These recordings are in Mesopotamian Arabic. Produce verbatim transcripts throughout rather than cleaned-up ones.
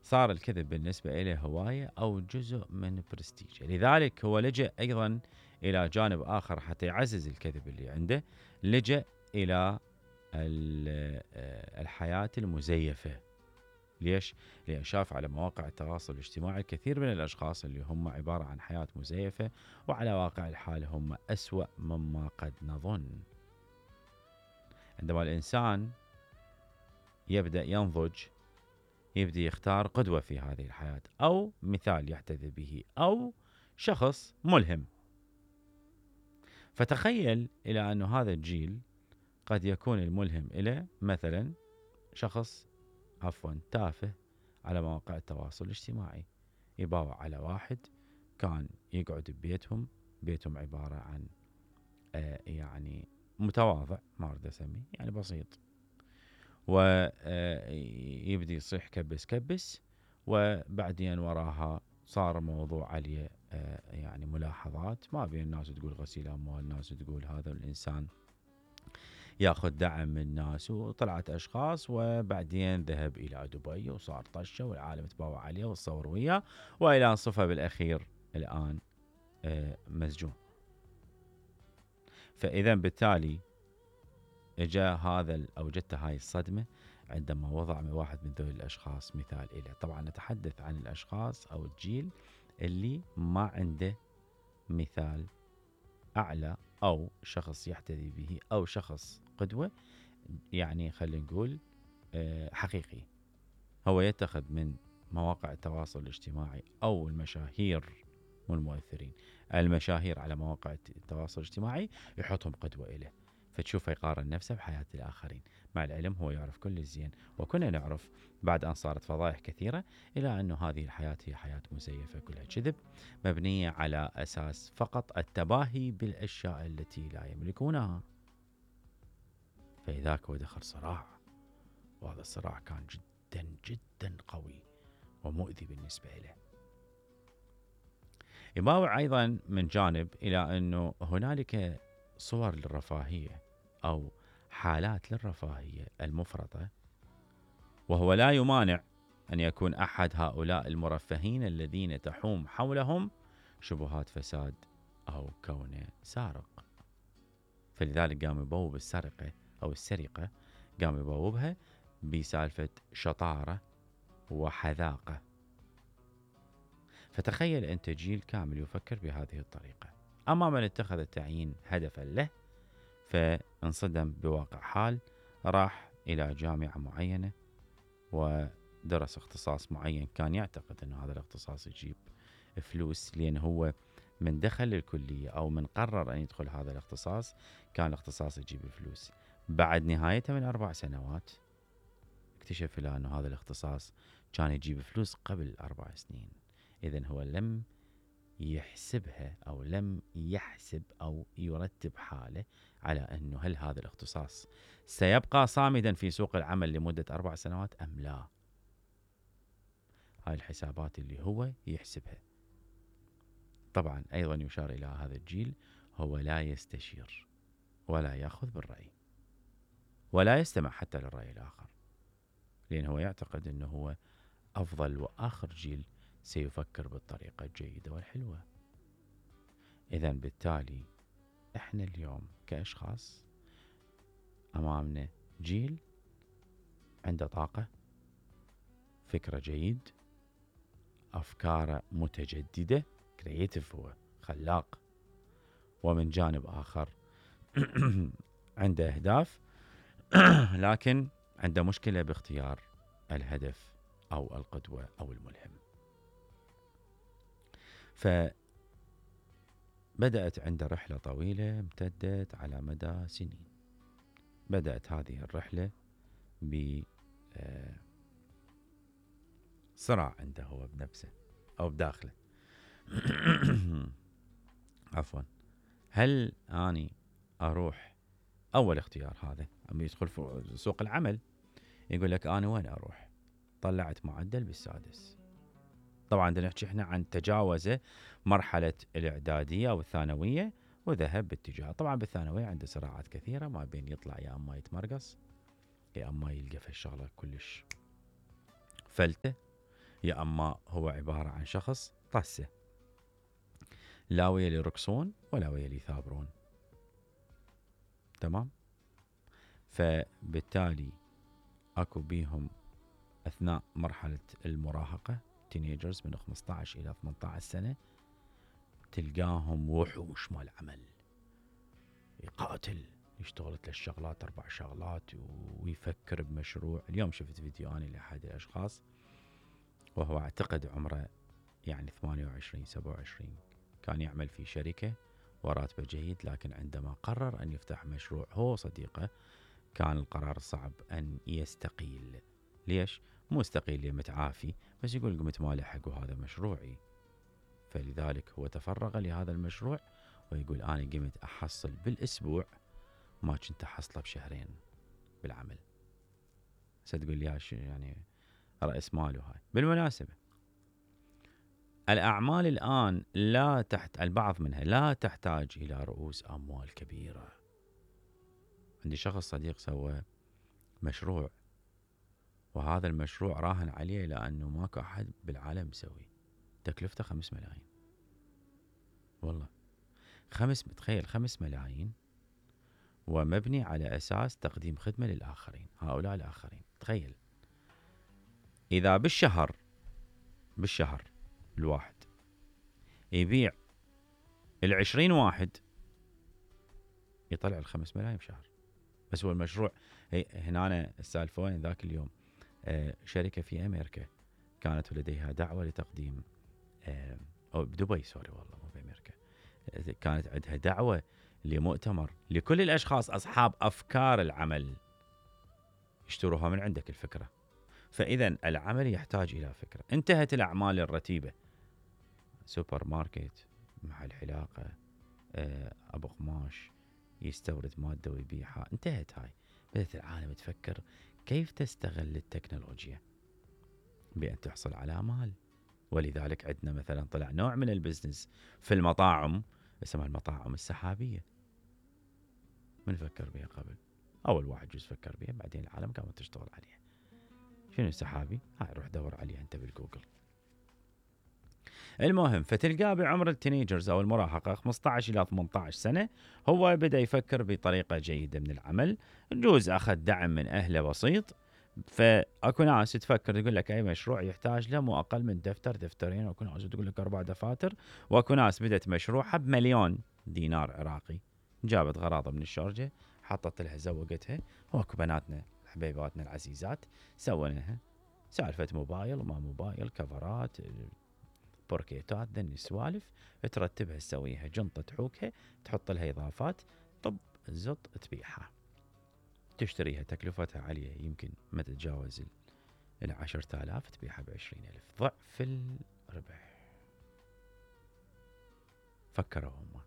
صار الكذب بالنسبة إليه هواية أو جزء من برستيجه. لذلك هو لجأ أيضا إلى جانب آخر حتى يعزز الكذب اللي عنده، لجأ إلى الحياة المزيفة. ليش؟ لأن شاف على مواقع التواصل الاجتماعي الكثير من الأشخاص اللي هم عبارة عن حياة مزيفة، وعلى واقع الحال هم أسوأ مما قد نظن. عندما الإنسان يبدأ ينضج، يبدأ يختار قدوة في هذه الحياة، أو مثال يحتذي به، أو شخص ملهم. فتخيل إلى أن هذا الجيل قد يكون الملهم إلى مثلا شخص عفوا تافه على مواقع التواصل الاجتماعي، يباوع على واحد كان يقعد ببيتهم، بيتهم عبارة عن آه يعني متواضع، ما أريد أسميه، يعني بسيط، ويبدي يصيح كبس كبس، وبعدين وراها صار موضوع عليه يعني ملاحظات، ما بين الناس تقول غسيل أموال، الناس تقول هذا الإنسان ياخذ دعم من الناس، وطلعت أشخاص، وبعدين ذهب إلى دبي وصار طشة والعالم تباوع عليه وتصور وياه، وإلى أن صفى بالأخير الآن مسجون. فإذا بالتالي اجا هذا او جت هاي الصدمه عندما وضع من واحد من ذوي الاشخاص مثال إله. طبعا نتحدث عن الاشخاص او الجيل اللي ما عنده مثال اعلى او شخص يحتذي به او شخص قدوه، يعني خلينا نقول حقيقي. هو يتخذ من مواقع التواصل الاجتماعي او المشاهير والمؤثرين، المشاهير على مواقع التواصل الاجتماعي يحطهم قدوه إله، فتشوفه يقارن نفسه بحياة الآخرين. مع العلم هو يعرف كل الزين، وكنا نعرف بعد أن صارت فضائح كثيرة إلى أن هذه الحياة هي حياة مزيفة كلها كذب، مبنية على أساس فقط التباهي بالأشياء التي لا يملكونها. فإذاك هو دخل صراع، وهذا الصراع كان جدا جدا قوي ومؤذي بالنسبة له. يباوع أيضا من جانب إلى أنه هنالك صور للرفاهية أو حالات للرفاهية المفرطة، وهو لا يمانع أن يكون أحد هؤلاء المرفهين الذين تحوم حولهم شبهات فساد أو كونه سارق. فلذلك قام يبوب السرقة أو السرقة، قام يبوبها بسالفة شطارة وحذاقة. فتخيل أنت جيل كامل يفكر بهذه الطريقة. أما من اتخذ التعيين هدفا له فانصدم بواقع حال، راح إلى جامعة معينة ودرس اختصاص معين، كان يعتقد أن هذا الاختصاص يجيب فلوس، لأن هو من دخل الكلية أو من قرر أن يدخل هذا الاختصاص كان الاختصاص يجيب فلوس. بعد نهايته من أربع سنوات اكتشف له أن هذا الاختصاص كان يجيب فلوس قبل أربع سنين. إذن هو لم يحسبها أو لم يحسب أو يرتب حاله على أنه هل هذا الاختصاص سيبقى صامدا في سوق العمل لمدة أربع سنوات أم لا. هاي الحسابات اللي هو يحسبها. طبعا أيضا يشار إلى هذا الجيل هو لا يستشير ولا يأخذ بالرأي ولا يستمع حتى للرأي الآخر، لأنه هو يعتقد أنه هو أفضل وآخر جيل سيفكر بالطريقة الجيدة والحلوة. إذن بالتالي إحنا اليوم كأشخاص أمامنا جيل عنده طاقة، فكرة جيد، أفكار متجددة، كرييتيف، هو خلاق، ومن جانب آخر عنده أهداف لكن عنده مشكلة باختيار الهدف أو القدوة أو الملهم. فبدأت عنده رحلة طويلة امتدت على مدى سنين. بدأت هذه الرحلة بصراع عنده هو بنفسه أو بداخله. عفوا، هل أني أروح أول اختيار هذا عم يدخل في سوق العمل، يقول لك أنا وين أروح؟ طلعت معدل بالسادس. طبعا بدنا نحكي احنا عن تجاوزه مرحلة الإعدادية أو الثانوية وذهب باتجاه. طبعا بالثانوية عنده صراعات كثيرة، ما بين يطلع يا أما يتمرقص يا أما يلقى في الشغلة كلش فلتة، يا أما هو عبارة عن شخص طسه، لا ويا اللي يرقصون ولا ويا اللي يثابرون. تمام. فبالتالي اكو بيهم اثناء مرحلة المراهقة تينيجرز من خمسة عشر الى ثمانية عشر سنة تلقاهم وحوش مال عمل، يقاتل، يشتغل ثلاث شغلات اربع شغلات ويفكر بمشروع. اليوم شفت فيديو اني لاحد الاشخاص وهو اعتقد عمره يعني ثمانية وعشرين سبعة وعشرين، كان يعمل في شركة وراتبه جيد، لكن عندما قرر ان يفتح مشروع هو صديقه كان القرار صعب ان يستقيل. ليش؟ مو استقيل متعافي، بس يقول قمت ما لحق وهذا مشروعي. فلذلك هو تفرغ لهذا المشروع ويقول انا قمت احصل بالاسبوع ما كنت احصله بشهرين بالعمل. ستقول لي يعني رأس ماله هاي. بالمناسبة الأعمال الآن لا تحت البعض منها لا تحتاج إلى رؤوس أموال كبيرة. عندي شخص صديق سوى مشروع وهذا المشروع راهن عليه لأنه ماكو أحد بالعالم مسوي، تكلفته خمس ملايين. والله خمس تخيل خمس ملايين ومبني على أساس تقديم خدمة للآخرين، هؤلاء الآخرين. تخيل إذا بالشهر بالشهر الواحد يبيع العشرين واحد يطلع الخمس ملايين بشهر. بس هو المشروع هنا السالفة وين ذاك اليوم آه شركة في أمريكا كانت لديها دعوة لتقديم آه أو بدبي سوري والله مو بأمريكا، آه كانت عندها دعوة لمؤتمر لكل الأشخاص أصحاب أفكار العمل يشتروها من عندك الفكرة. فإذا العمل يحتاج إلى فكرة. انتهت الأعمال الرتيبة، سوبر ماركت، محل حلاقة، آه أبو قماش يستورد مادة ويبيعها، انتهت هاي. بدأت العالم تفكر كيف تستغل التكنولوجيا بأن تحصل على مال. ولذلك عندنا مثلا طلع نوع من البزنس في المطاعم اسمها المطاعم السحابية. من فكر بها قبل؟ أول واحد جزء فكر بها، بعدين العالم قامت تشتغل عليها. شنو السحابي؟ هاي روح دور عليها أنت بالجوجل. المهم فتلقاه بعمر التينيجرز أو المراهقة خمسة عشر إلى ثمانية عشر سنة هو بدأ يفكر بطريقة جيدة من العمل. جوز أخذ دعم من أهله بسيط. فأكو ناس تفكر تقول لك أي مشروع يحتاج له مو أقل من دفتر دفترين، وأكو ناس تقول لك أربع دفاتر، وأكو ناس بدأت مشروعها بمليون دينار عراقي، جابت غراضة من الشارجة حطت لها زوقتها. وأكو بناتنا حبيباتنا العزيزات سووا لها سالفة موبايل وما موبايل، كفرات، بوركيتات، ذني السوالف ترتبها تسويها جنطة تحوكها تحط لها إضافات، طب زط تبيعها، تشتريها تكلفتها عالية يمكن ما تتجاوز العشرة آلاف، تبيعها بعشرين ألف، ضعف الربح. فكروا هم.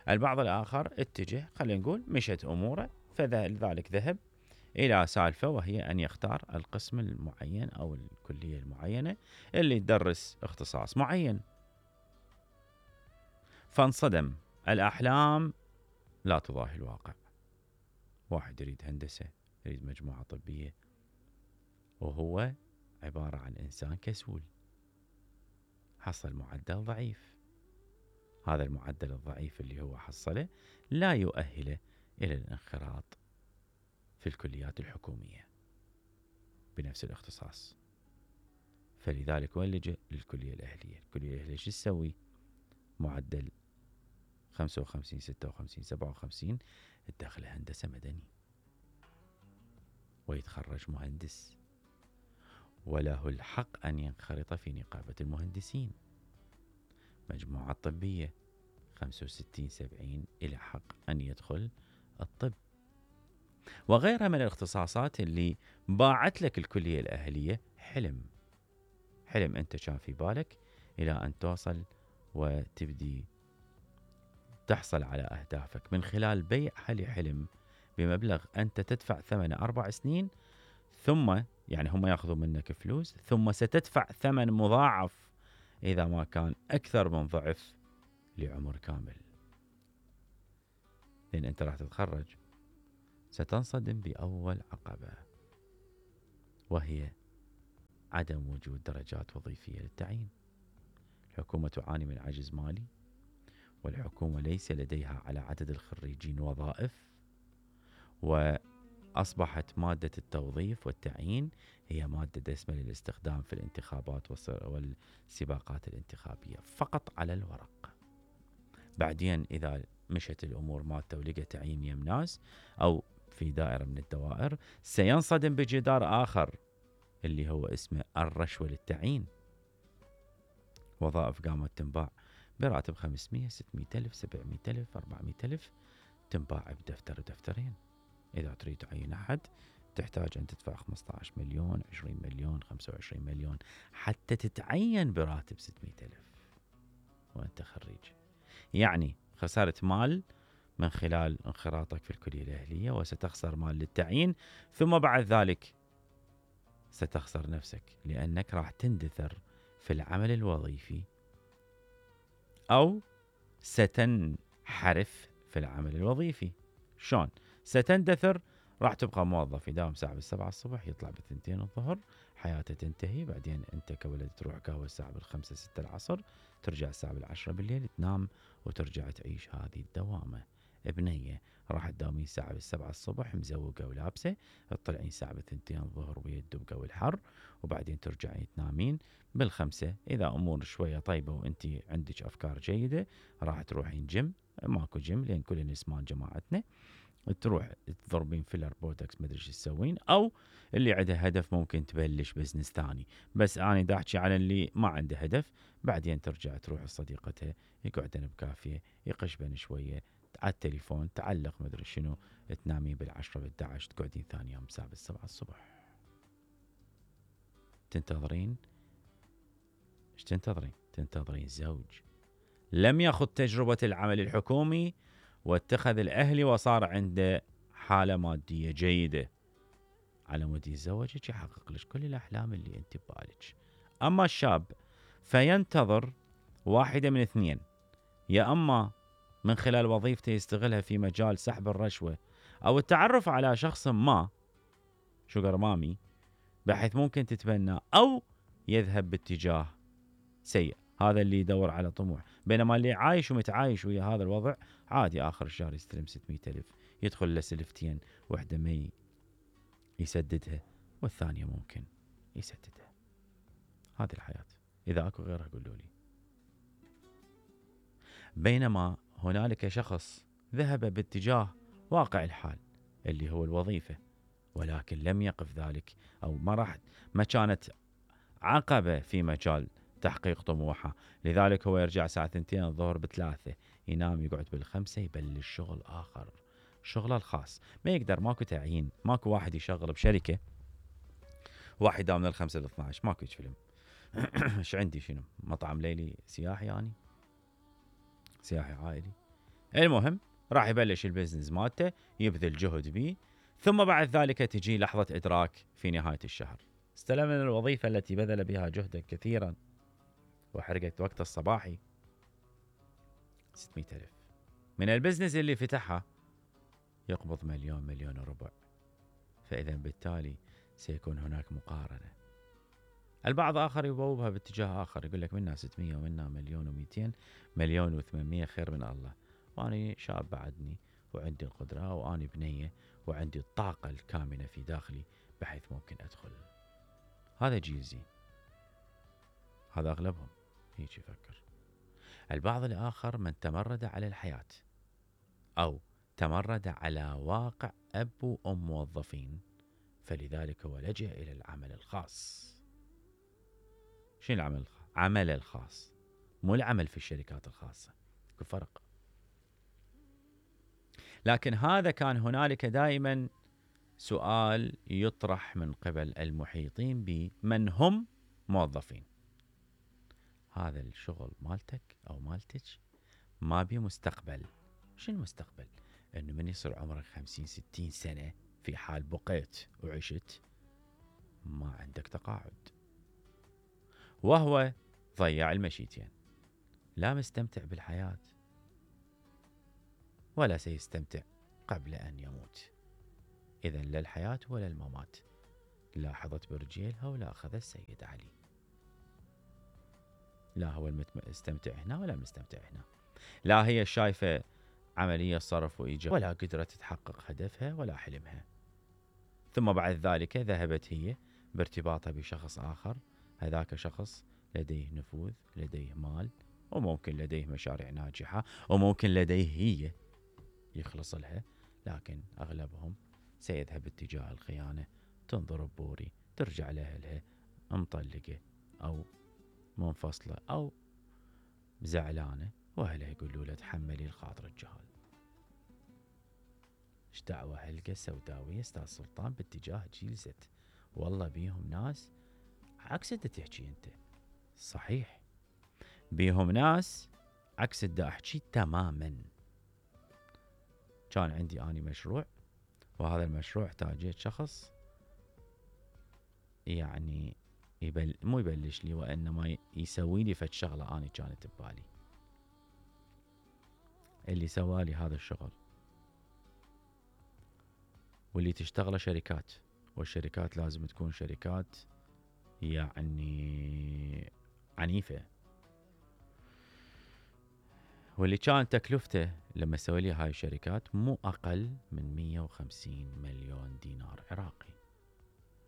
البعض الآخر اتجه خلينا نقول مشت أموره، فلذلك ذهب إلى سالفة وهي أن يختار القسم المعين أو الكلية المعينة اللي تدرس اختصاص معين. فانصدم، الأحلام لا تضاهي الواقع. واحد يريد هندسة، يريد مجموعة طبية، وهو عبارة عن إنسان كسول، حصل معدل ضعيف. هذا المعدل الضعيف اللي هو حصله لا يؤهله إلى الانخراط في الكليات الحكومية بنفس الاختصاص. فلذلك وين لجأ؟ للكلية الأهلية. الكلية الأهلية شو تسوي؟ معدل خمسة وخمسين ستة وخمسين سبعة وخمسين الداخل هندسة مدني، ويتخرج مهندس وله الحق أن ينخرط في نقابة المهندسين. مجموعة طبية خمسة وستين سبعين إلى حق أن يدخل الطب، وغيرها من الاختصاصات اللي باعت لك الكلية الأهلية حلم. حلم أنت كان في بالك إلى أن توصل وتبدي تحصل على أهدافك من خلال بيع هالحلم بمبلغ أنت تدفع ثمن أربع سنين، ثم يعني هم يأخذوا منك فلوس، ثم ستدفع ثمن مضاعف إذا ما كان أكثر من ضعف لعمر كامل. لأن أنت راح تتخرج ستنصدم بأول عقبة، وهي عدم وجود درجات وظيفية للتعيين. الحكومة تعاني من عجز مالي، والحكومة ليس لديها على عدد الخريجين وظائف، وأصبحت مادة التوظيف والتعيين هي مادة دسمة للاستخدام في الانتخابات والسباقات الانتخابية فقط على الورق. بعدين إذا مشت الأمور مالته ولقى تعيين يم ناس أو في دائرة من الدوائر، سينصدم بجدار آخر اللي هو اسمه الرشوة للتعيين. وظائف قامت تنباع براتب خمسمية ستمية ألف سبعمية ألف أربعمية ألف، تنباع بدفتر ودفترين. إذا تريد تعين أحد تحتاج أن تدفع خمسة عشر مليون، عشرين مليون، خمسة وعشرين مليون حتى تتعين براتب ستمية ألف وأنت خريج. يعني خسرت مال من خلال انخراطك في الكلية الأهلية، وستخسر مال للتعيين، ثم بعد ذلك ستخسر نفسك، لأنك راح تندثر في العمل الوظيفي أو ستنحرف في العمل الوظيفي. شون ستندثر؟ راح تبقى موظف يداوم ساعة بالسبعة الصبح يطلع بالثنتين الظهر، حياته تنتهي. بعدين أنت كولد تروح قهوة الساعة بالخمسة ستة العصر، ترجع الساعة بالعشرة بالليل تنام وترجع تعيش هذه الدوامة. ابنية راح تداومين ساعة بالسبعة الصبح مزوقة ولابسة، تطلعين ساعة بالثنتين الظهر ويا الدبقة والحر، وبعدين ترجعين تنامين بالخمسة. إذا أمور شوية طيبة وأنت عندك أفكار جيدة راح تروحين جيم، ماكو جيم لأن كل نسمان جماعتنا، تروح تضربين فيلر بوتوكس مدري شو تسوين، او اللي عنده هدف ممكن تبلش بزنس ثاني. بس انا دا احكي على اللي ما عنده هدف. بعدين ترجع تروح لصديقتها يقعدن بكافيه يقشبن شويه على التليفون، تعلق مدري شنو، تنامين بالعشرة بالدعش، تقعدين ثاني يوم الساعه بالسبعة الصبح. تنتظرين ايش تنتظرين؟ تنتظرين زوج لم يخض تجربة العمل الحكومي واتخذ الأهلي وصار عنده حالة مادية جيدة، على مود يتزوجك يحقق لك كل الأحلام اللي أنت ببالك. أما الشاب فينتظر واحدة من اثنين، يا أما من خلال وظيفته يستغلها في مجال سحب الرشوة أو التعرف على شخص ما شوغر مامي بحيث ممكن تتبنى، أو يذهب باتجاه سيء، هذا اللي يدور على طموح. بينما اللي عايش ومتعايش ويا هذا الوضع عادي آخر الشهر يستلم ستمية ألف، يدخل له سلفتين، واحدة ما يسددها والثانية ممكن يسددها. هذه الحياة، إذا أكو غيرها قولوا لي. بينما هنالك شخص ذهب باتجاه واقع الحال اللي هو الوظيفة، ولكن لم يقف ذلك أو ما راح ما كانت عقبة في مجال تحقيق طموحه، لذلك هو يرجع ساعة ثنتين الظهر بثلاثة، ينام يقعد بالخمسة، يبلش شغل آخر، شغله الخاص. ما يقدر، ماكو تعيين، ماكو واحد يشغل بشركة واحد يداوم من الخمسة لاثناعش، ماكو فيلم. ايش عندي شنو مطعم ليلي سياحي يعني سياحي عائلي؟ المهم راح يبلش البزنس مالته، يبذل جهد بيه، ثم بعد ذلك تجي لحظة إدراك في نهاية الشهر. استلم من الوظيفة التي بذل بها جهدا كثيرا وحرقت وقت الصباحي ستمية ألف. من البزنس اللي فتحها يقبض مليون مليون وربع. فإذا بالتالي سيكون هناك مقارنة. البعض آخر يبوبها باتجاه آخر، يقول لك منا ستمية ومنا مليون ومئتين، مليون وثمانمية خير من الله، وأنا شاب بعدني وعندي القدرة وأنا بنية وعندي الطاقة الكامنة في داخلي بحيث ممكن أدخل. هذا جيل زين، هذا أغلبهم هيك يفكر. البعض الآخر من تمرد على الحياة أو تمرد على واقع أب وأم موظفين، فلذلك هو لجأ إلى العمل الخاص. شنو العمل الخاص؟ عمل الخاص، مو العمل في الشركات الخاصة، في فرق. لكن هذا كان هنالك دائما سؤال يطرح من قبل المحيطين بمن هم موظفين: هذا الشغل مالتك أو مالتك ما بي مستقبل. شنو المستقبل؟ إنه من يصير عمرك خمسين ستين سنة في حال بقيت وعشت ما عندك تقاعد، وهو ضيع المشيتين، لا مستمتع بالحياة ولا سيستمتع قبل أن يموت. إذن لا الحياة ولا الممات، لاحظت برجيلها ولا أخذ السيد علي. لا هو المستمتع هنا ولا المستمتع هنا، لا هي شايفة عملية صرف وإيجاب ولا قدرت تحقق هدفها ولا حلمها. ثم بعد ذلك ذهبت هي بارتباطها بشخص آخر، هذاك شخص لديه نفوذ، لديه مال، وممكن لديه مشاريع ناجحة، وممكن لديه هي يخلص لها، لكن أغلبهم سيذهب اتجاه الخيانة. تنظر ببوري، ترجع لأهلها مطلقة أو منفصلة أو زعلانة، وأهلها يقولوا لها تحملي الخاطر الجهال. ايش دعوة هلقة سوداوية استاذ سلطان باتجاه جيل زد؟ والله بيهم ناس عكس اللي تحكي انت، صحيح بيهم ناس عكس اللي احكي تماما. كان عندي اني مشروع، وهذا المشروع احتاجيت شخص يعني يبل مو يبلش لي، وانما يسوي لي فد شغله اني كانت ببالي. اللي سوالي هذا الشغل، واللي تشتغله شركات، والشركات لازم تكون شركات يعني عنيفة، واللي كان تكلفته لما سوي لي هاي الشركات مو أقل من مية وخمسين مليون دينار عراقي.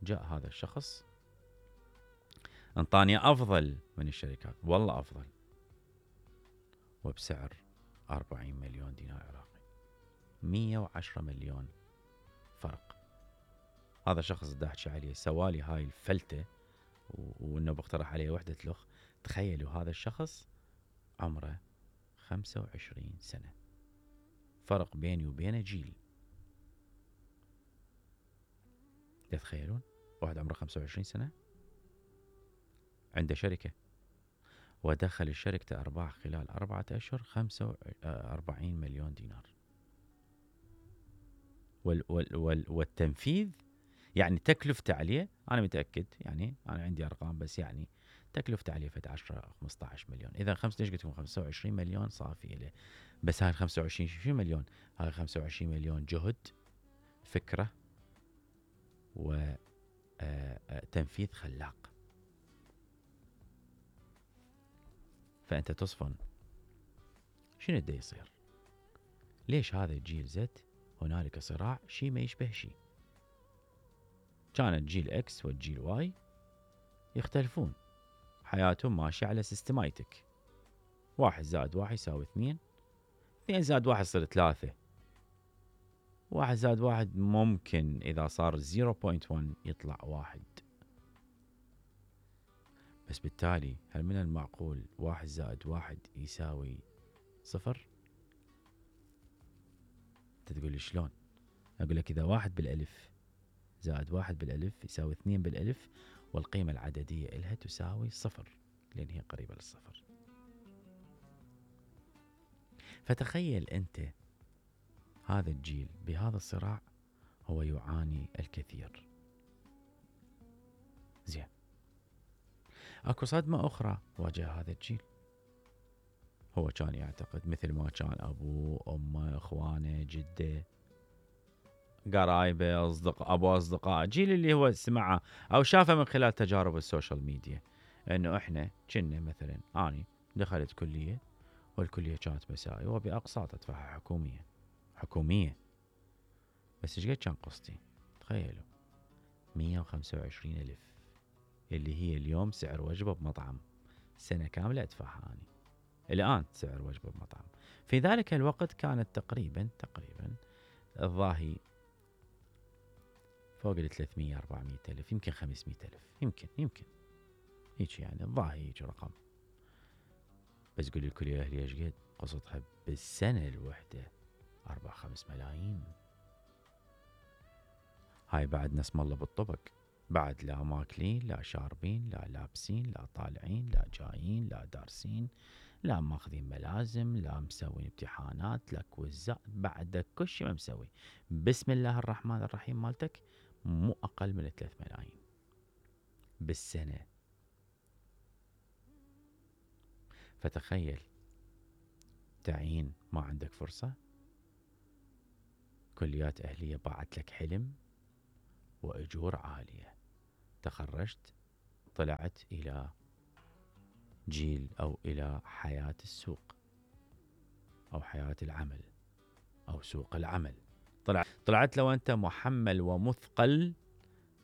جاء هذا الشخص انطاني أفضل من الشركات، والله أفضل، وبسعر أربعين مليون دينار عراقي، مية وعشرة مليون فرق. هذا شخص دا احكي عليه سوالي هاي الفلتة، وانه بقترح عليه وحدة لخ. تخيلوا هذا الشخص عمره خمسة وعشرين سنة، فرق بيني وبينه جيل. تتخيلون واحد عمره خمسة وعشرين سنة عنده شركة، ودخل الشركة أرباح خلال أربعة أشهر خمسة وأربعين مليون دينار. وال وال وال والتنفيذ يعني تكلفته عليه، أنا متأكد يعني أنا عندي أرقام، بس يعني تكلفته عليه فد عشرة خمسة عشر مليون. إذا خمسة ليش قلت لكم خمسة وعشرين مليون صافي له. بس هاي خمسة وعشرين شو مليون؟ هاي خمسة وعشرين مليون جهد، فكرة، وتنفيذ خلاق. فأنت تصفن شنو دا يصير؟ ليش هذا الجيل زد هنالك صراع شي ما يشبه شي؟ كان الجيل اكس والجيل واي يختلفون، حياتهم ماشية على سيستمايتك، واحد زائد واحد يساوي اثنين، اثنين زائد واحد يصير ثلاثة، واحد زائد واحد ممكن إذا صار صفر فاصلة واحد يطلع واحد. بس بالتالي هل من المعقول واحد زائد واحد يساوي صفر؟ انت تقول لي شلون؟ اقول لك اذا واحد بالالف زائد واحد بالالف يساوي اثنين بالالف، والقيمة العددية إلها تساوي صفر لأن هي قريبة للصفر. فتخيل أنت هذا الجيل بهذا الصراع هو يعاني الكثير. زين، اكو صدمة أخرى واجه هذا الجيل. هو كان يعتقد مثل ما كان أبوه أمه إخوانه جده قرايبه أصدقاء أبو أصدقاء جيل اللي هو سمعه أو شافه من خلال تجارب السوشيال ميديا، إنه إحنا كنا مثلا أني دخلت كلية، والكلية كانت مسائي وبأقساط أدفعها حكومية حكومية بس إيش قد كان قسطي؟ تخيلوا مية وخمسة وعشرين ألف، اللي هي اليوم سعر وجبة بمطعم سنة كاملة أدفعها أني الآن سعر وجبة بمطعم. في ذلك الوقت كانت تقريبا تقريبا الظاهي فوق ال ثلاثمية أربعمية ألف، يمكن خمسمية ألف، يمكن يمكن هيك يعني الظاهي هيك رقم. بس قولي الكلية أهلي إيش قد قسطها بالسنة الوحدة؟ أربع خمس ملايين. هاي بعد ناس مالله بالطبق، بعد لا ماكلين لا شاربين لا لابسين لا طالعين لا جايين لا دارسين لا ماخذين ملازم لا مسوين امتحانات لا كوزات، بعد كل شيء ما مسوي. بسم الله الرحمن الرحيم مالتك مو أقل من ثلاث ملايين بالسنة. فتخيل تعين ما عندك فرصة، كليات أهلية باعت لك حلم وأجور عالية، تخرجت طلعت إلى جيل أو إلى حياة السوق أو حياة العمل أو سوق العمل. طلعت طلعت لو أنت محمل ومثقل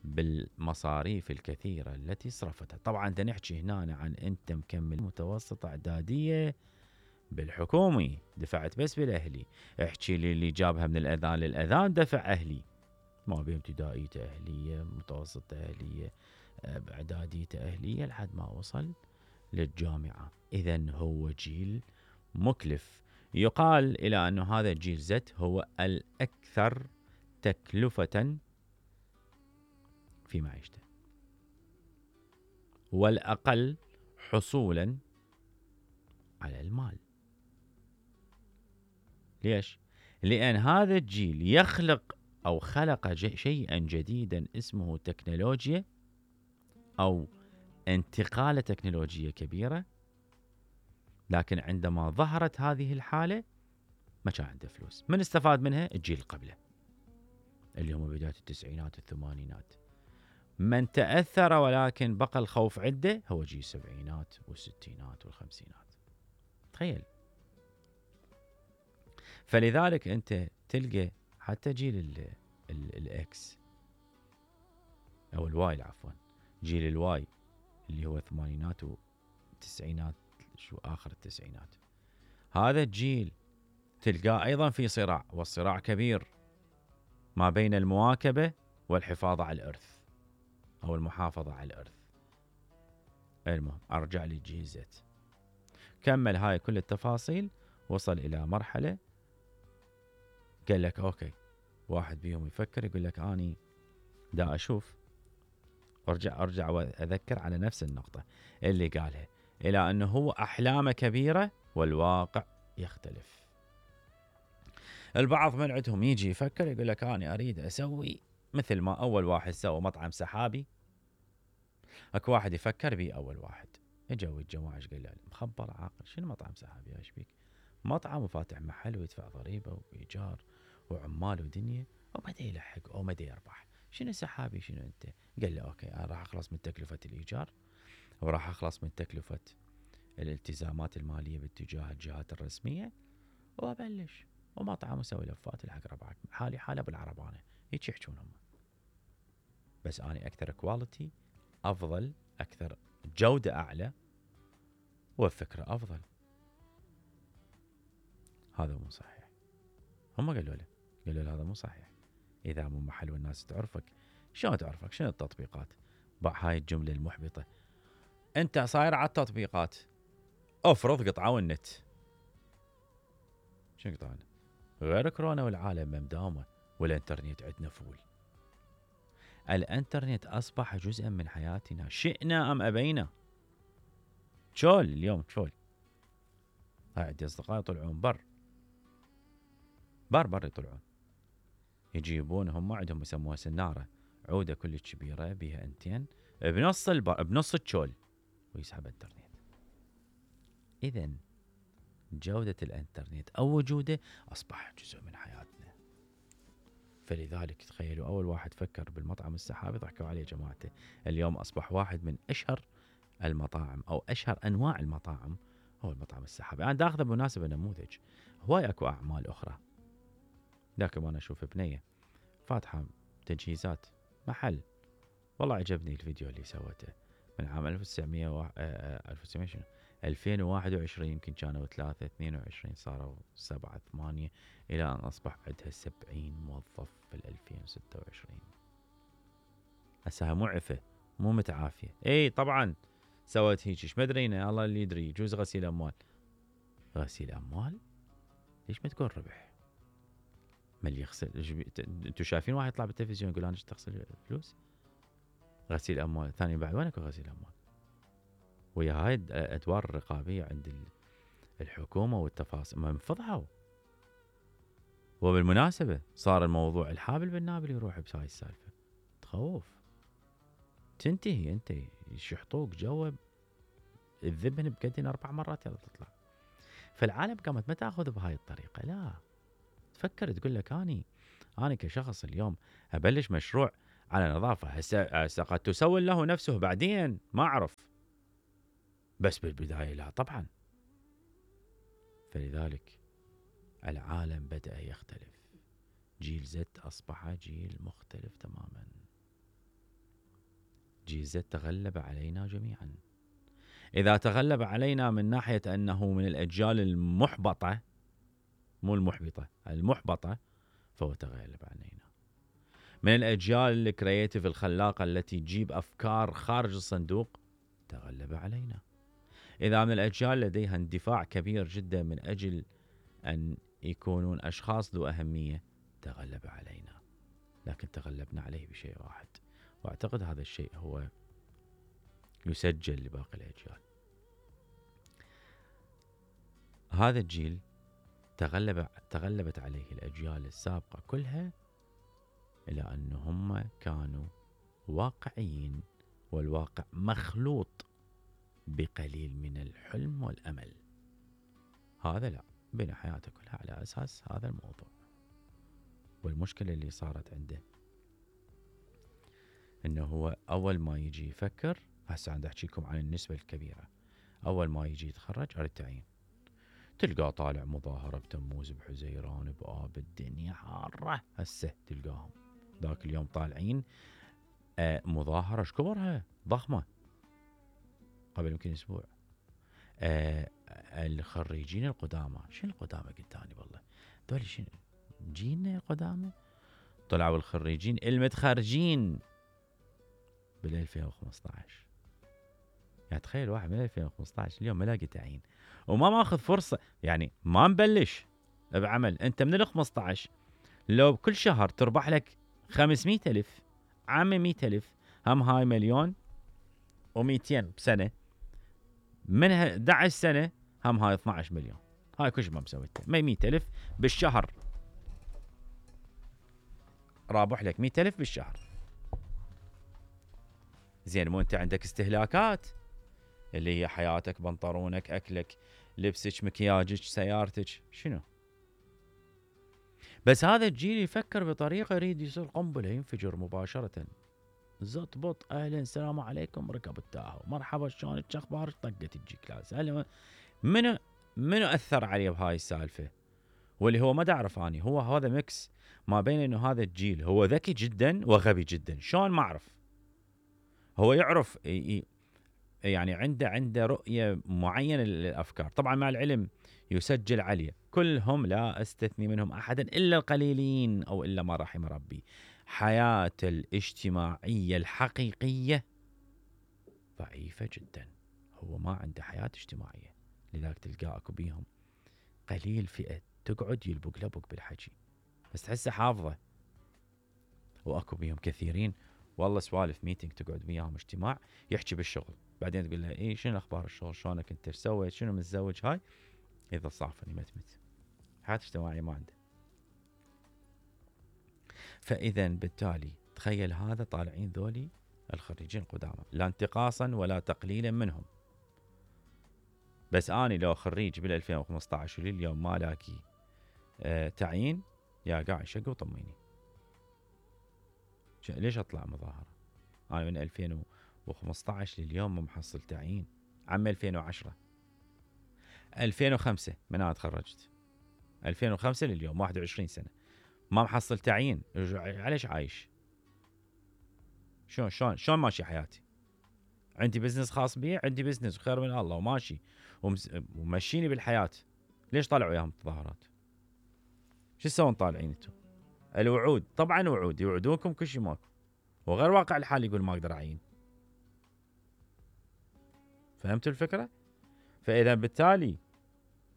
بالمصاريف الكثيرة التي صرفتها. طبعا دا نحكي هنا عن أنت مكمل متوسط إعدادية بالحكومي دفعت بس بالأهلي. احكي لي اللي جابها من الأذان للأذان دفع أهلي، ما بين ابتدائية أهلية، متوسط أهلية، إعدادية أهلية، لحد ما وصل للجامعة. إذن هو جيل مكلف. يقال إلى أن هذا الجيل زد هو الأكثر تكلفة في معيشته والأقل حصولا على المال. ليش؟ لأن هذا الجيل يخلق أو خلق شيئا جديدا اسمه تكنولوجيا أو انتقالة تكنولوجية كبيرة، لكن عندما ظهرت هذه الحالة ما كان عنده فلوس. من استفاد منها؟ الجيل قبله اللي هم بداية التسعينات والثمانينات. من تأثر ولكن بقى الخوف عنده هو جيل السبعينات والستينات والخمسينات. تخيل. فلذلك أنت تلقى حتى جيل ال ال الإكس أو الواي، عفوا جيل الواي اللي هو الثمانينات والتسعينات، شو آخر التسعينات، هذا الجيل تلقاه أيضا في صراع، والصراع كبير ما بين المواكبة والحفاظ على الإرث أو المحافظة على الإرث. المهم أرجع لي جيل زد، كمل هاي كل التفاصيل، وصل إلى مرحلة قال لك أوكي، واحد بيهم يفكر يقول لك أني دا أشوف، أرجع أرجع وأذكر على نفس النقطة اللي قالها، إلى أنه هو أحلامه كبيرة والواقع يختلف. البعض من عندهم يجي يفكر يقول لك أنا أريد أسوي مثل ما أول واحد سوى مطعم سحابي. أكو واحد يفكر بي أول واحد اجوا الجواج قال له مخبر عاقل، شنو مطعم سحابي ايش بيك؟ مطعم وفاتح محل ويدفع ضريبة وإيجار وعمال ودنيا وبدأ يلحق أو بدأ يربح. شنو سحابي شنو أنت؟ قال له أوكي أنا راح أخلص من تكلفة الإيجار وراح أخلص من تكلفة الالتزامات المالية باتجاه الجهات الرسمية وأبلش ومطعم وسوي لفات الحق ربعك، حالي حالة بالعربانة. هيك يحجون هم، بس أنا أكثر كواليتي، أفضل، أكثر جودة أعلى والفكرة أفضل. هذا مو صحيح. هم قالوا له قالوا له هذا مو صحيح. إذا مو محل والناس تعرفك، شلون تعرفك؟ شنو التطبيقات؟ باع هاي الجملة المحبطة. أنت صاير على التطبيقات، أفرض قطعوا النت. شنو قطعوا النت؟ غير كورونا والعالم مداومة والإنترنت عندنا فول. الإنترنت أصبح جزءا من حياتنا شئنا أم أبينا. شول اليوم شول. هاي عندي أصدقاء يطلعون بر بر بر يطلعون يجيبون، هم عندهم يسموها سنارة، عودة كلش كبيرة بها انتين بنص البر بنص الشول ويسحب انترنت. إذن جودة الانترنت أو وجوده أصبح جزء من حياتنا. فلذلك تخيلوا أول واحد فكر بالمطعم السحابي ضحكوا عليه جماعته، اليوم أصبح واحد من أشهر المطاعم أو أشهر أنواع المطاعم هو المطعم السحابي. أنا دا أخذ بمناسبة نموذج، هواي أكو أعمال أخرى. لكن أنا أشوف بنية فاتحة تجهيزات محل، والله عجبني الفيديو اللي سوته من عام ألف وتسعمية و... ألف وتسعمية شنو ألفين وواحد وعشرين، يمكن كانوا ثلاثة اثنين وعشرين صاروا سبعة ثمانية إلى أن أصبح عندها سبعين موظف في ألفين وستة وعشرين. هسه معفة مو متعافية. اي طبعا سوت هيك، ايش مدرينا، الله اللي يدري، يجوز غسيل أموال. غسيل أموال؟ ليش ما تكون ربح؟ ما اللي يغسل؟ انتوا شايفين واحد يطلع بالتلفزيون يقول انا ايش تغسل فلوس؟ غسيل اموال ثاني بعد، وينك غسيل اموال؟ ويا هاي الادوار الرقابيه عند الحكومه والتفاصيل ما انفضحوا. وبالمناسبه صار الموضوع الحابل بالنابل يروح بهاي السالفه، تخوف. تنتهي انت يشحطوك جوا الذبن بقدين اربع مرات يلا تطلع. فالعالم قامت ما تاخذ بهاي الطريقه، لا تفكر تقول لك اني انا كشخص اليوم ابلش مشروع على نظافة. هسه قد تسول له نفسه بعدين، ما أعرف، بس بالبداية لا طبعا. فلذلك العالم بدأ يختلف، جيل زد أصبح جيل مختلف تماما. جيل زد تغلب علينا جميعا. إذا تغلب علينا من ناحية أنه من الأجيال المحبطة، مو المحبطة، المحبطة، فهو تغلب علينا. من الأجيال الكرياتيف الخلاقة التي تجيب أفكار خارج الصندوق، تغلب علينا. إذا من الأجيال لديها اندفاع كبير جدا من أجل أن يكونون أشخاص ذو أهمية، تغلب علينا. لكن تغلبنا عليه بشيء واحد، وأعتقد هذا الشيء هو يسجل لباقي الأجيال. هذا الجيل تغلب تغلبت عليه الأجيال السابقة كلها، إلى أنهم كانوا واقعيين، والواقع مخلوط بقليل من الحلم والأمل. هذا لا، بنى حياته كلها على أساس هذا الموضوع. والمشكلة اللي صارت عنده إنه هو أول ما يجي يفكر، هسه عند أحكيكم عن النسبة الكبيرة، أول ما يجي يتخرج على التعيين تلقاه طالع مظاهرة بتموز بحزيران بآب، الدنيا حارة. هسه تلقاهم ذاك اليوم طالعين آه مظاهرة شكبرها ضخمة قبل يمكن أسبوع. آه الخريجين القدامى، شنو القدامى قلت أنا والله دول شنو جينا قدامى، طلعوا الخريجين المتخرجين بال ألفين وخمسة عشر. يعني تخيل واحد من ألفين وخمسة عشر اليوم ما لاقي تعيين وما ماخذ فرصة، يعني ما مبلش بعمل. انت من ال خمسة عشر لو بكل شهر تربح لك خمسمية ألف، عام مية ألف، هم هاي مليون ومئتين بسنة، منها أحد عشر سنة هم هاي اثني عشر مليون. هاي كل ما مسويته مية ألف بالشهر، رابح لك مية ألف بالشهر. زين، مو انت عندك استهلاكات اللي هي حياتك، بنطرونك، أكلك، لبسك، مكياجك، سيارتك، شنو؟ بس هذا الجيل يفكر بطريقة يريد يصير قنبلة ينفجر مباشرة. زط بط، أهلا السلام عليكم، ركب التاهو، مرحبا شلونك، شو أخبارك، طقت تجيك لاز. منو منو أثر عليه بهاي السالفة؟ واللي هو ما دعرف أني هو هذا ميكس ما بين إنه هذا الجيل هو ذكي جدا وغبي جدا. شلون ما أعرف، هو يعرف يعني عنده عنده رؤية معينة للأفكار. طبعا مع العلم يسجل عليه كلهم، لا أستثني منهم أحدا إلا القليلين أو إلا ما رحم ربي، حياة الاجتماعية الحقيقية ضعيفة جدا. هو ما عنده حياة اجتماعية، لذلك تلقى أكو بيهم قليل فئة تقعد يلبق لبق بالحكي، بس تحسه حافظة. وأكو بيهم كثيرين والله سوالف ميتينج تقعد وياهم اجتماع يحكي بالشغل، بعدين تقول له ايه شنو اخبار الشغل، شلونك انت، ايش سويت، شنو متزوج، هاي اذا صافني متمت، حياة اجتماعية ما عنده. فاذا بالتالي تخيل هذا طالعين ذولي الخريجين القدامى، لا انتقاصا ولا تقليلا منهم، بس اني لو خريج بال ألفين وخمسة عشر ولليوم ما لاقي آه تعيين، يا قاعد شق وطميني، ليش اطلع مظاهرة؟ انا من ألفين وخمسة عشر لليوم ما محصل تعيين. عام ألفين وعشرة ألفين وخمسة من انا تخرجت، ألفين وخمسة لليوم واحد وعشرين سنة ما محصل تعيين. عليش عايش؟ شلون شلون شلون ماشي حياتي؟ عندي بزنس خاص بي، عندي بزنس وخير من الله وماشي ومشيني بالحياة. ليش طالعوا وياهم تظاهرات؟ شو تسوون طالعين انتم؟ الوعود طبعا وعود، يوعدونكم كل شيء ماكو، وغير واقع الحال يقول ما اقدر اعين. فهمتوا الفكرة؟ فاذا بالتالي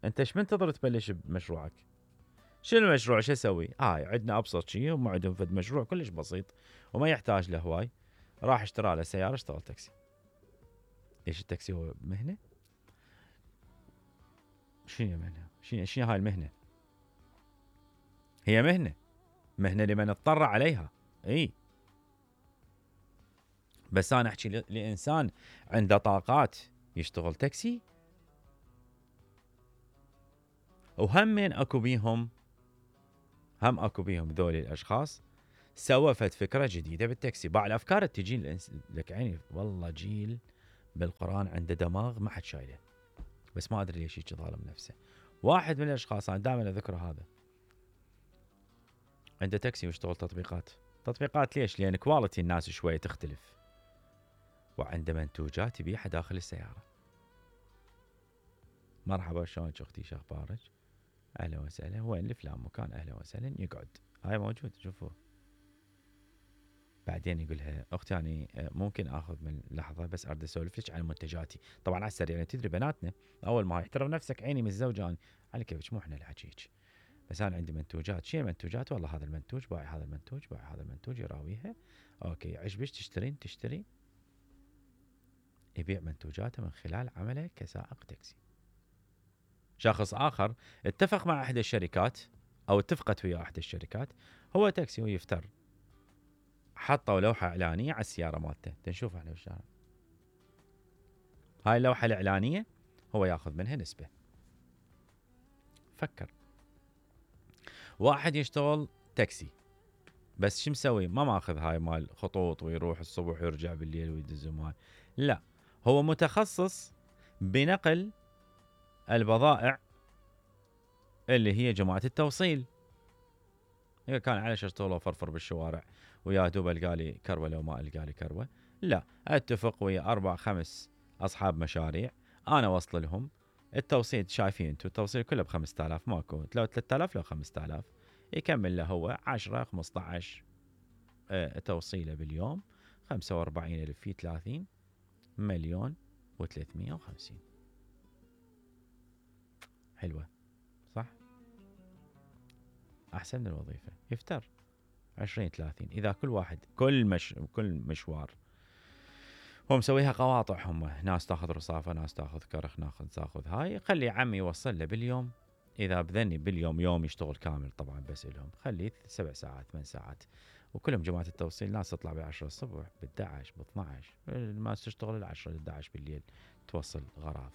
انت ايش منتظر تبلش بمشروعك؟ شنو المشروع؟ شو اسوي؟ هاي آه عندنا ابسط شيء، وما عندهم فد مشروع كلش بسيط وما يحتاج له هواي. راح اشترى له سياره، اشتغل تاكسي. ليش التاكسي هو مهنه؟ شنو مهنه؟ شنو شنو هاي المهنه؟ هي مهنه، مهنه لمن اضطر عليها. اي بس انا احكي لانسان عنده طاقات يشتغل تاكسي. وهم من اكو بيهم هم اكو بيهم ذولي الاشخاص سوى فد فكره جديده بالتاكسي. باع الافكار تجي لك عيني والله جيل بالقران عنده دماغ ما حد شايله، بس ما ادري ليش هيك ظالم نفسه. واحد من الاشخاص انا دائما اذكره هذا، عنده تاكسي ويشتغل تطبيقات. تطبيقات ليش؟ لان كواليتي الناس شويه تختلف، وعنده منتوجات يبيعها داخل السياره. مرحبا شلونك اختي شو اخبارك؟ اهلا وسهلا، وين لفلان مكان، اهلا وسهلا، يقعد. هاي موجود شوفوا. بعدين يقولها اختي اني ممكن اخذ من لحظه بس اريد اسولف لك عن منتجاتي. طبعا على السريع يعني تدري بناتنا اول ما احترم نفسك عيني من الزوجه انا على كيفك مو احنا اللي حكيك، بس انا عندي منتوجات. شنو المنتوجات؟ والله هذا المنتوج بايع، هذا المنتوج بايع، هذا المنتوج يراويها. اوكي عجبك تشترين تشتري. يبيع منتوجاته من خلال عمله كسائق تاكسي. شخص اخر اتفق مع احدى الشركات او اتفقت ويا احدى الشركات، هو تاكسي ويفتر، حطوا لوحه اعلانيه على السياره مالته تنشوفها احنا بالشارع. هاي اللوحه الاعلانيه هو ياخذ منها نسبه. فكر واحد يشتغل تاكسي بس شو مسوي؟ ما ماخذ هاي مال خطوط ويروح الصبح ويرجع بالليل ويدز مال، لا هو متخصص بنقل البضائع اللي هي جماعه التوصيل. هي كان على اشتغل وفرفر بالشوارع ويا دوب القى لي كروه لو ما القى لي كروه، لا اتفق ويا اربع خمس اصحاب مشاريع انا وصل لهم التوصيل. شايفين انتم التوصيل كله ب خمسة آلاف، ماكو لو ثلاثة آلاف لو خمسة آلاف، يكمل له هو عشرة خمسة عشر اه توصيله باليوم، خمسة وأربعين ألف في ثلاثين مليون وثلاثمية وخمسين. حلوه صح؟ احسن من الوظيفه. يفتر عشرين ثلاثين اذا كل واحد كل مش كل مشوار هو مسويها قواطع، هم ناس تاخذ رصافه، ناس تاخذ كرخ، ناخذ تاخذ هاي، خلي عمي يوصل له باليوم. اذا بذني باليوم يوم يشتغل كامل طبعا بس لهم، خليه سبع ساعات ثمان ساعات، وكلهم جماعه التوصيل ناس تطلع بعشرة الصبح ب11 ب12، ما تشتغل العشرة لحداعش بالليل توصل غراض.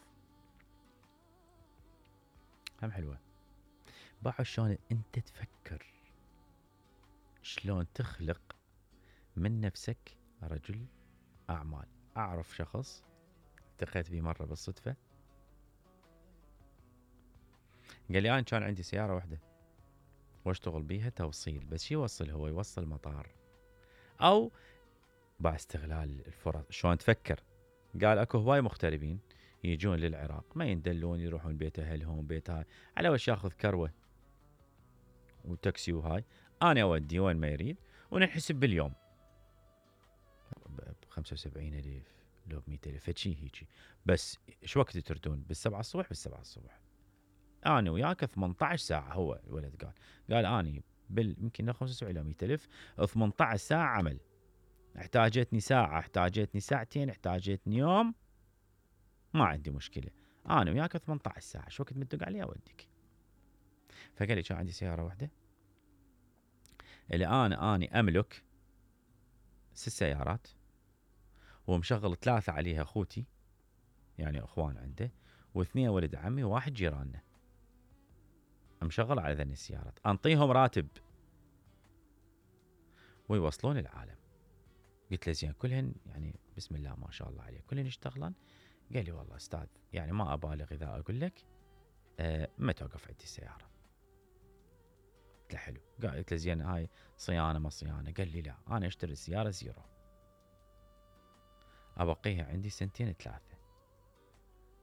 هم حلوه. باعوا شلون انت تفكر، شلون تخلق من نفسك رجل اعمال. اعرف شخص التقيت به مره بالصدفه، قال لي انا كان عندي سياره واحده واشتغل بيها توصيل، بس شو يوصل؟ هو يوصل مطار او باع استغلال الفرص. شلون تفكر؟ قال اكو هواي مغتربين يجون للعراق ما يندلون، يروحون بيت اهلهم بيت هاي، على وش ياخذ كروه وتاكسي وهاي، انا اودي وين ما يريد وننحسب باليوم ب خمسة وسبعين ألف لو ب مئة ألف شيء هيجي. بس شو وقت تردون؟ بالسبعة الصبح. بالسبعة الصبح انا وياك ثمانية عشر ساعه. هو الولد قال قال اني بال يمكن خمسة وسبعين الى مئة ألف ثمانية عشر ساعه عمل، احتاجتني ساعه، احتاجتني ساعتين، احتاجتني يوم، ما عندي مشكله، انا وياك ثمانية عشر ساعه، شو وقت مدق علي اوديك. فقال لي كان عندي سياره واحده اللي انا اني املك ست سيارات ومشغل ثلاثه عليها اخوتي يعني اخوان عنده، واثنين ولد عمي وواحد جيراننا، مشغل على ذني السيارات، انطيهم راتب ويوصلون العالم. قلت له زين كلهن يعني بسم الله ما شاء الله عليه كلهن يشتغلن؟ قال لي والله استاذ يعني ما ابالغ اذا اقول لك أه ما توقف عندي السياره. قلت له حلو. قلت له زين هاي صيانه ما صيانه؟ قال لي لا انا اشتري السياره زيرو، ابقيها عندي سنتين ثلاثه،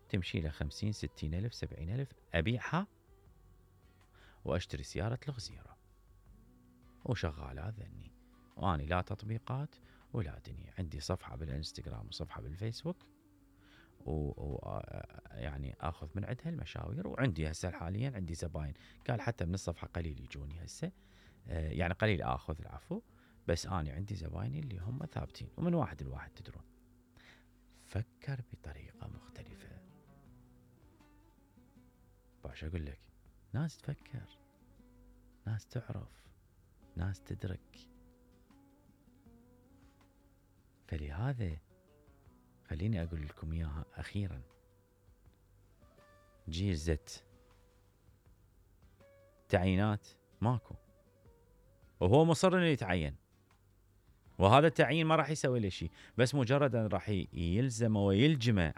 تمشي له خمسين ستين الف سبعين الف، ابيعها واشتري سياره لغ زيرو وشغاله ذني، واني لا تطبيقات ولا دنيا، عندي صفحه بالانستغرام وصفحه بالفيسبوك و, و... يعني اخذ من عندها المشاوير، وعندي هسه حاليا عندي زباين. قال حتى من الصفحه قليل يجوني هسه، آه يعني قليل اخذ العفو، بس انا عندي زبايني اللي هم ثابتين ومن واحد لواحد تدرون. فكر بطريقه مختلفه. باش اقول لك ناس تفكر، ناس تعرف، ناس تدرك. فلهذا خليني اقول لكم اياها اخيرا، جيل زت تعيينات ماكو، وهو مصر انه يتعين وهذا التعيين ما راح يسوي له شيء، بس مجرد ان راح يلزمه ويلجمه